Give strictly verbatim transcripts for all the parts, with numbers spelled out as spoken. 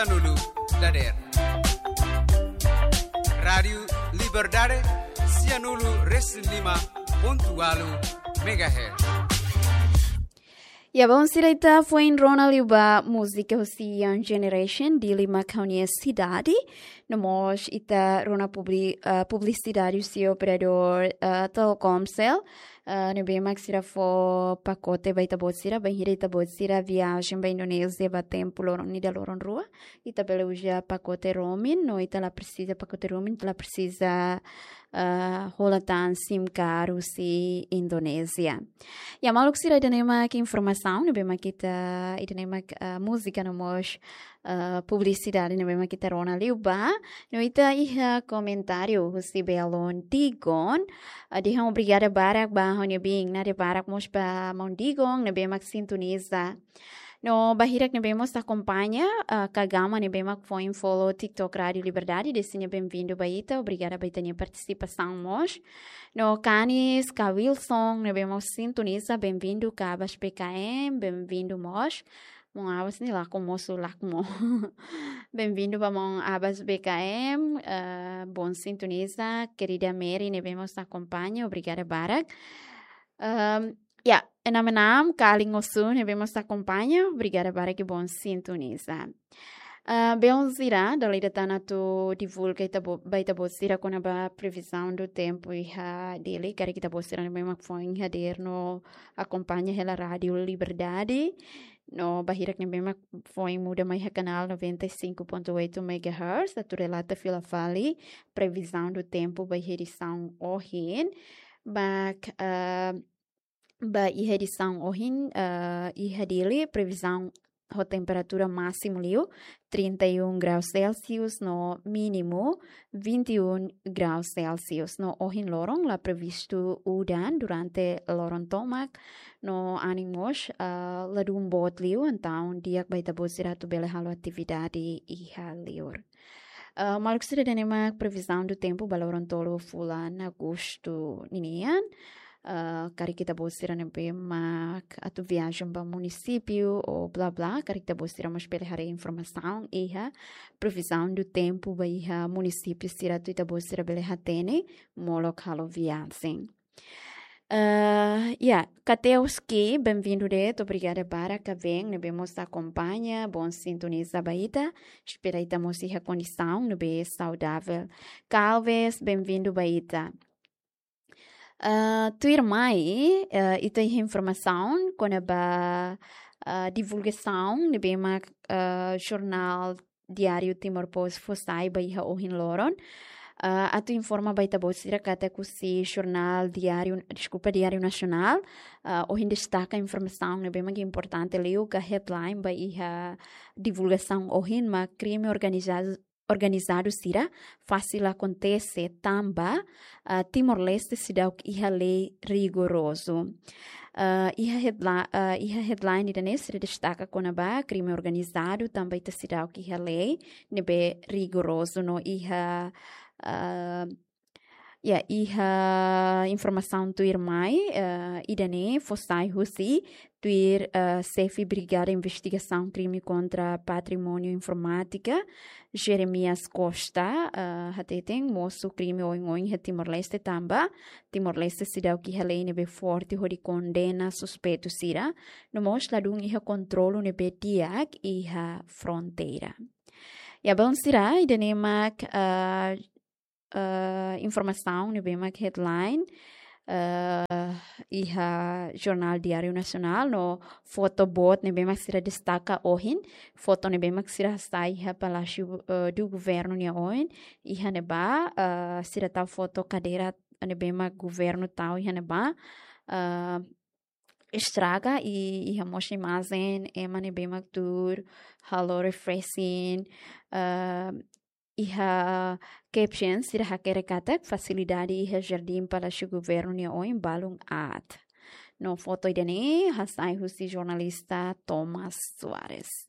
Sianulu dader. Rádiu Liberdade, sianulu resin lima pontu ualu megahertz. Ya, bom, sira ita foin rona liu ba múzika husi Young Generation, Dili mak ha'u-nia sidade. No mós ita rona publi-, ah, publisidade husi operadór, ah, Telkomcel. Ah, ne'ebé mak sira fó pakote ba ita-boot sira, bainhira ita-boot sira viajen ba Indonézia ba tempu loron ida loron rua. Ita bele uza pakote roaming, no ita la presiza pakote roaming, ita la presiza, ah, hola tan SIM card husi Indonézia. Ya, maluk sira, ida-ne'e mak informasaun ne'ebé mak ita, ida-ne'e mak, ah, múzika no mós, ah, publisidade ne'ebé mak ita rona liu ba. No ita iha komentáriu husi Belon Digon. Ah, dehan obrigada barak ba ha'u-nia biin, nada barak mós ba maun Digon ne'ebé mak sintoniza. No ba hirak ne'ebé mós akompaña, ah, Kagama ne'ebé mak foin follow TikTok Rádiu Liberdade, dehan benvindu ba ita, obrigada ba ita-nia partisipasaun mós. No Kanis, Ka Wilson ne'ebé mós sintoniza, benvindu. Ka Abas B K M, benvindu mós. Maun Abas ne'e lakon mosu, lakon mo. Benvindu ba maun Abas B K M, ah, bom sintoniza, kerida Mary ne'ebé mós akompaña, obrigada barak. Ahm, ya, enam enam, Kaling Osu ne'ebé mós akompaña, obrigada barak, bom sintoniza. Ah, belun sira, dala ida tan atu divulga ita-bo-, ba ita-boot sira kona-ba previsão do tempo iha Dili, karik ita-boot sira ne'ebé mak foin hadeer no akompaña hela Rádiu Liberdade. No ba hirak ne'ebé mak foin muda mai iha kanál noventa e cinco ponto oito megahertz, atu relata fila fali previsão do tempo ba iha edisaun ohin. Ba, ah, ba iha edisaun ohin, ah, iha Dili, previzaun ho temperatura másimu liu trinta e um graus Celsius no mínimu vinte e um graus Celsius. No ohin loron la previstu udan durante loron tomak, no anin mós, ah, ladún boot liu, entaun di'ak ba ita-boot sira atu bele halo atividade iha liur. Ah, maluk sira, ida-ne'e mak previsão do tempo ba loron tolu fulan Agostu ninian. Ah, karik ita-boot sira ne'ebé mak atu viajen ba munisípiu ou blá blá, karik ita-boot sira mós bele haree informasaun iha previsão do tempo ba iha munisípiu sira atu ita-boot sira bele hatene molok halo viajen. Ah, ya, Kateuski, benvindu de'it, obrigada barak. Kaven ne'ebé mós akompaña, bom sintoniza ba ita. Espera ita mós iha kondisaun ne'ebé saudavel. Kalves, benvindu ba ita. Ah, tuirmai, ah, ita iha informasaun kona-ba, ah, divulgasaun ne'ebé mak, ah, jornál Diário Timor Post fó sai ba iha ohin loron. Ah, atu informa ba ita-boot sira katak husi jornál Diário, deskulpa, Diário Nacional, ah, ohin destaka informasaun ne'ebé mak importante liu, ka headline ba iha divulgasaun ohin mak krime organizadu, organizadu sira fasil akontese tanba, ah, Timor-Leste seidauk iha lei rigorozu. Ah, iha headla-, ah, iha headline ida-ne'e sira destaka kona-ba krime organizadu tanba ita seidauk iha lei ne'ebé rigorozu no iha, ah, ya, iha informasaun tuirmai, ah, ida-ne'e fó sai husi tuir, ah, xefe Brigada Investigasaun Krime kontra Patrimóniu Informátika, Jeremias Costa, ah, hateten mosu krime oioin iha Timor-Leste tanba Timor-Leste seidauk iha lei ne'ebé forte hodi kondena suspeitu sira, no mós ladún iha kontrolu ne'ebé di'ak iha fronteira. Ya, belun sira, ida-ne'e mak, ah, ah, informasaun ne'ebé mak headline, ah, iha jornál Diário Nacional no foto boot ne'ebé mak sira destaka ohin, foto ne'ebé mak sira hasai iha Palácio, ah, do Governo nia oin, iha ne'ebá, ah, sira tau foto kadeira ne'ebé mak governu tau iha ne'ebá, ah, estraga i iha mós imajen ema ne'ebé mak tuur halo refreshing, ah, iha caption sira hakerek katak fasilidade iha Jardim Palácio Governo nia oin balun aat. No foto ida-ne'e hasai husi jornalista Thomas Soares.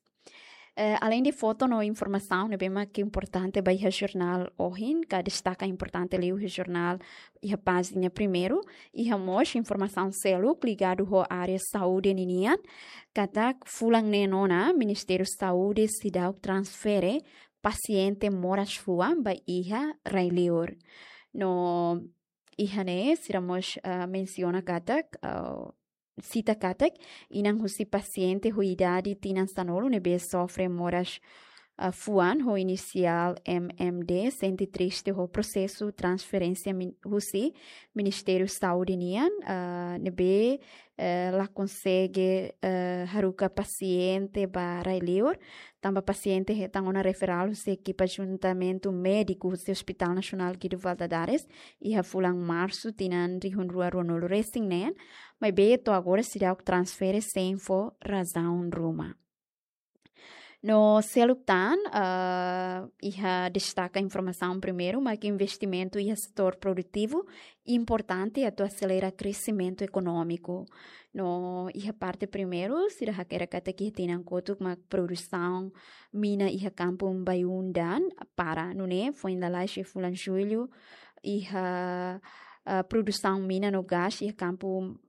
Eh, além de foto no informasaun ne'ebé mak importante ba iha jornál ohin, ka destaka importante liu iha jornál iha pájina primeiru, iha mós informasaun seluk ligadu ho área saúde ninian, katak fulan neen ona Ministériu Saúde seidauk transfere pasiente moras fuan ba iha rai-liur. No iha ne'e sira mós, ah, mensiona katak, ah, sita katak, inan husi pasiente ho idade tinan sanulu ne'ebé sofre moras, ah, fuan ho inisiál M M D sente triste ho prosesu transferénsia min-, husi Ministériu Saúde nian, ah, ne'ebé, eh, la konsege, eh, haruka pasiente ba rai-liur, tanba pasiente hetan ona referál husi ekipa juntamentu médiku husi Hospital Nasionál Guido Valadares, iha fulan Marsu tinan rihun rua ruanulu resin neen, maibé to'o agora seidauk transfere sein fó razaun ruma. No seluk tan, ah, iha destaka informasaun primeiru, mak investimentu iha setór produtivu importante atu aselera kresimentu ekonómiku. No iha parte primeiru, sira hakerek katak iha tinan kotuk mak produsaun mina iha kampu Baiundan para, nune'e foin lalais iha fulan Jullu, iha, ah, produsaun mina no gás iha kampu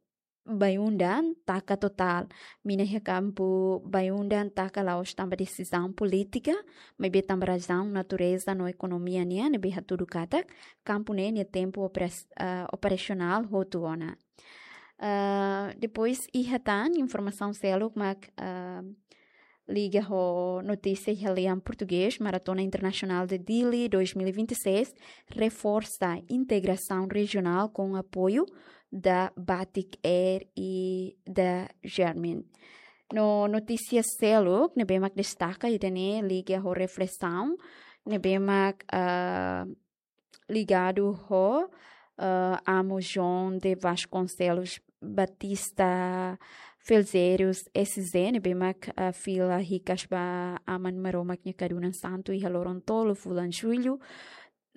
Baiundan taka totál. Mina iha kampu Baiundan taka la'ós tanba desizaun polítika, maibé tanba razaun natureza no ekonomia nian, ne'ebé hatudu katak kampu ne'e nia tempu operas-, ah, operasionál hotu ona. Ah, depois iha tan informasaun seluk mak, ah, liga ho notísia iha lian portugés, Maratona Internasionál de Dili dois mil e vinte e seis reforsa integrasaun rejionál ho apoiu da Batik Air i da Garmin. No notísia seluk ne'ebé mak destaka ida-ne'e liga ho reflesaun ne'ebé mak, ah, ligadu ho, ah, Amu João de Vasconcelos Batista Felzerius S Z, ne'ebé mak, ah, fila hikas ba Aman Maromak nia kadunan santu iha loron tolu fulan Jullu,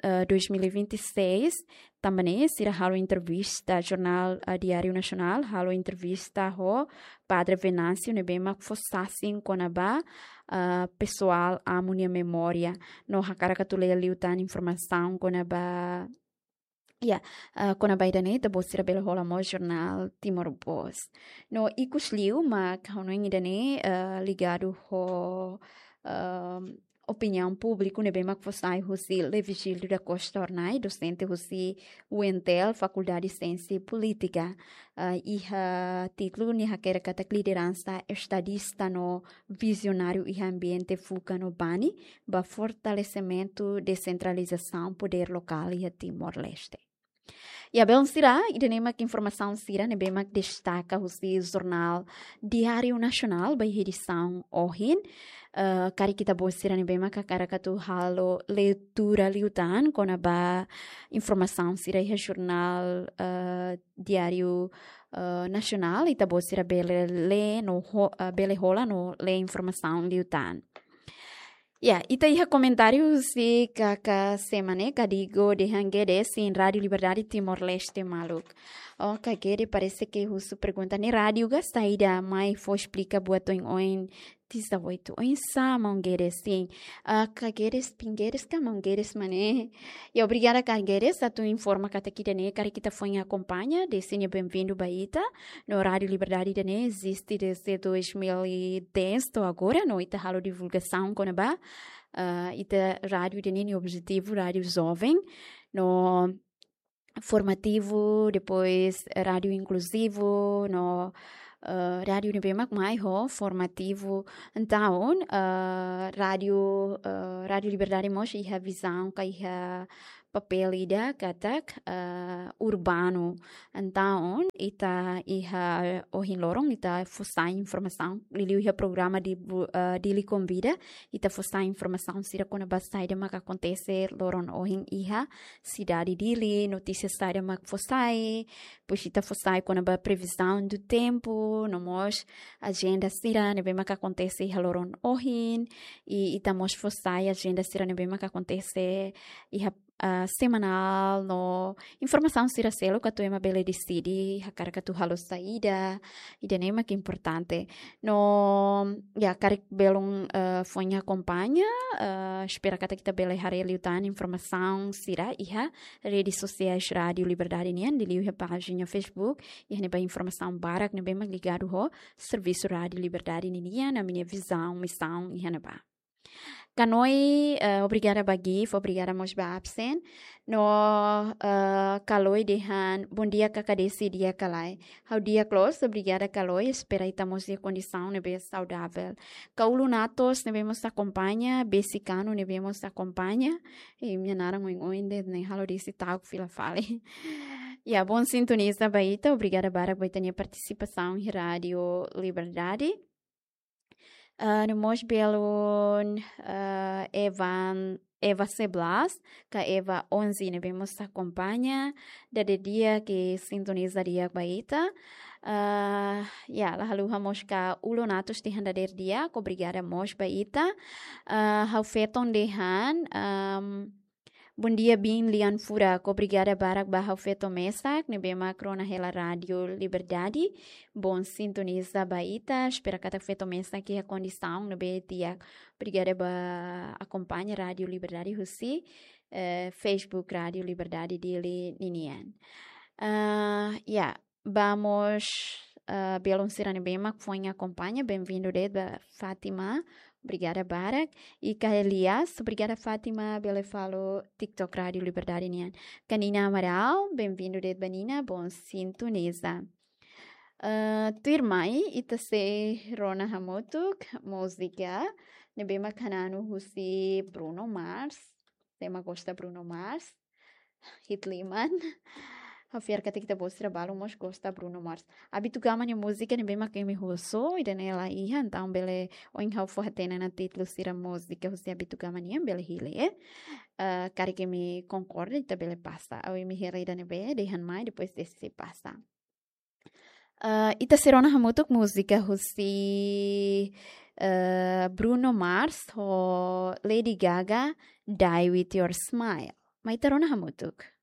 ah, dois mil e vinte e seis. Tanba ne'e sira halo entrevista, jornál, ah, Diáriu Nasionál halo entrevista ho Padre Venâncio, ne'ebé mak fó sasin kona-ba, ah, pesoál Amu nia memória. No hakarak atu lee liután informasaun kona-ba, ya, ah, kona-ba ida-ne'e, ita-boot sira bele hola mós jornál Timor Post. No ikus liu mak ha'u hanoin ida-ne'e, ah, ligadu ho, ah, opiniaun públiku ne'ebé mak fó sai husi Leovigildo da Costa Hornai, dosente husi U N T L, Fakuldade Siénsia Polítika. Ah, iha títulu nia hakerek katak lideransa estadista no vizionáriu iha ambiente fuka no bani ba fortalesimentu desentralizasaun podér lokál iha Timor-Leste. Ya, belun sira, ida-ne'e mak informasaun sira ne'ebé mak destaka husi jornál Diáriu Nasionál ba iha edisaun ohin. Eh, karik ita-boot sira ne'ebé mak hakarak atu halo leitura liután kona-ba informasaun sira iha jornál, eh, Diáriu, eh, Nasionál, ita-boot sira bele lee no ho-, eh, bele hola no lee informasaun liután. Ya, ita iha komentáriu husi kaka Semane, Kadigo dehan Gede, sin Rádiu Liberdade Timor-Leste maluk. Oh, kaka Gede parese ke husu pergunta ne'e rádiu ka saida, mai fó esplika buat oin-oin, tiza oitu oinsá, maun Gede, sin. Ah, kaka Gede, pin Gede ka maun Gede mane. Ya, obrigada kaka Gede, atu informa katak ida-ne'e karik ita foin akompaña, dehan nia benvindu ba ita. No Rádiu Liberdade ida-ne'e eziste desde dois mil e dez to'o agora, no ita halo divulgasaun kona-ba, ah, ita rádiu ida-ne'e nia objetivu rádiu joven, no formativu, depois rádiu inkluzivu, no, ah, rádiu ne'ebé mak mai ho formativu. Entaun, ah, rádiu, ah, Rádiu Liberdade mós iha vizaun ka iha papél ida katak, eh, urbanu. Entaun, ita iha ohin loron, ita fó sai informasaun, liuliu iha programa di bu-, eh, Dili Konvida, ita fó sai informasaun sira kona-ba saida mak akontese loron ohin iha sidade Dili, notísia saida mak fó sai, depois ita fó sai kona-ba previzaun do tempu, no mós ajenda sira ne'ebé mak akontese iha loron ohin, i ita mós fó sai ajenda sira ne'ebé mak akontese iha ah, semanál no informasaun sira seluk atu ema bele deside hakarak atu halo saida, ida-ne'e mak importante. No, ya, karik belun, eh, foin akompaña, eh, espera katak ita bele haree liután informasaun sira iha redes sosiais Rádio Liberdade nian, liuliu iha pájina Facebook, iha ne'ebá informasaun barak ne'ebé mak ligadu ho servisu Rádio Liberdade ninian, ami-nia vizaun, misaun iha ne'ebá. Kanoi, eh, obrigada ba Gif, obrigada mós ba absen. No, eh, Kaloi dehan, bom dia, Kak Desi, di'ak ka lae? Ha'u di'ak loos, obrigada Kaloi, espera ita mós iha kondisaun ne'ebé saudavel. Ka Ulunatos ne'ebé mós akompaña, Besikanu ne'ebé mós akompaña. E imi-nia naran oin-oin de'it ne'e, halo Desi ta'uk fila fali. Ya, bom sintoniza ba ita, obrigada barak ba ita-nia partisipasaun iha Rádio Liberdade. Ah, no mós belun, ah, Evan, Eva Seblas, ka Eva onze ne'ebé mós akompaña, dadeer di'ak, sintoniza di'ak ba ita. Ah, ya, la haluha mós ka Ulunatos dehan dadeer di'ak, obrigada mós ba ita. Ah, ha'u feton dehan, am, bom dia, biin lian furak, obrigada barak ba ha'u feto mesak ne'ebé mak rona hela Rádio Liberdade. Bom sintoniza ba ita, espera katak feto mesak iha kondisaun ne'ebé di'ak. Obrigada ba akompaña Rádio Liberdade husi, eh, Facebook Rádio Liberdade Dili ninian. Ah, ya, ba mós, ah, belun sira ne'ebé mak foin akompaña, benvindu de'it ba Fátima, obrigada barak. Ika Elias, obrigada Fátima, bele follow TikTok Rádio Liberdade nian. Ka Nina Amaral, benvindu de'it ba Nina, bom sintoniza. Ah, tuirmai, ita sei rona hamutuk múzika ne'ebé mak hananu husi Bruno Mars. Sé mak gosta Bruno Mars, hit liman. Ha'u fiar katak ita-boot sira balu mós gosta Bruno Mars. Abitu Gama nia múzika ne'ebé mak imi husu, ida-ne'e la iha, entaun bele ohin ha'u fó hatene ona títulu sira múzika husi Abitu Gama nian, bele hili, eh. Eh, karik imi konkorda, ita bele pasa. Ou imi hira ida ne'ebé dehan mai, depois deside pasa. Eh, ita sei rona hamutuk múzika husi, eh, Bruno Mars ho Lady Gaga, Die With Your Smile. Mai ita rona hamutuk.